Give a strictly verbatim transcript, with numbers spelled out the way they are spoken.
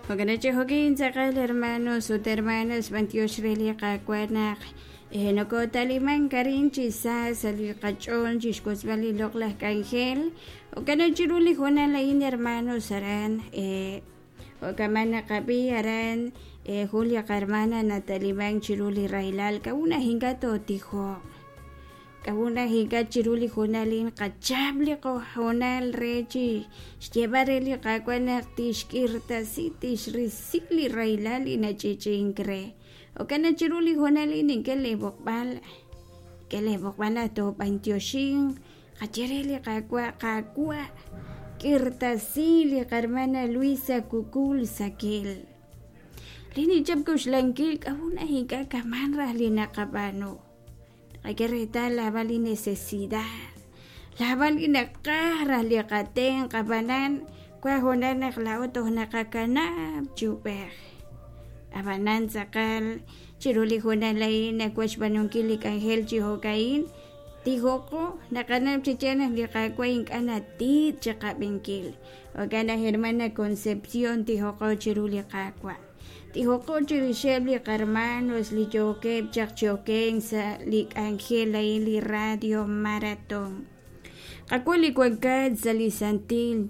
Jo'kan chi jo'kin tz'aqal hermanos ut hermanas b'antiox re li Qaawa' naq nokotalimank arin chi sa sa' li qach'ool chixwotzb'al li loq'laj k'anjel. Jo'kan chiru li hoonal a'in hermanos aran jo'kaman naqab'i aran jun li qahermana natalimank chiru li rahilal k'a'ut naq ink'a' tootijoq, k'a'ut naq ink'a' chiru li hoonal a'in qachap li qahoonal re chi xyeeb'al re li Qaawa' naq tixk'irtasi tixrisi li rahilal li nach'i'ch'i'ink re. Jo'kan naq chiru li hoonal a'in nink'e lee b'oqb'al, nink'e lee b'oqb'al naq toob'antioxinq qaye re li Qaawa', Qaawa' k'irtasi li qahermana Luisa Cucul Saquel. Li nichap k'oxlankil k'a'ut naq ink'a' kaman raj li naqab'aanu. Qak'e reetal laab'al li necesidad, laab'al li naqaj raj li qatenq' ab'anan wan hoonal naq laa'o toj naqakanab' chi ub'ej. Ab'anan tz'aqal chiru li hoonal a'in nawaj xb'aanunkil li k'anjel chi jo'ka'in tijoqo naqanab' chi yaal naq li Qaawa' ink'a' natiit chiqab'inkil. Jo'kan naq hermana Concepción tijoqo chiru li Qaawa'. Tijoqo chirixeb' li qarmanos li yookeb' chaq chi okenk sa' li k'anjel a'in li radio maratón. Qaawa' li wankat sa' li santil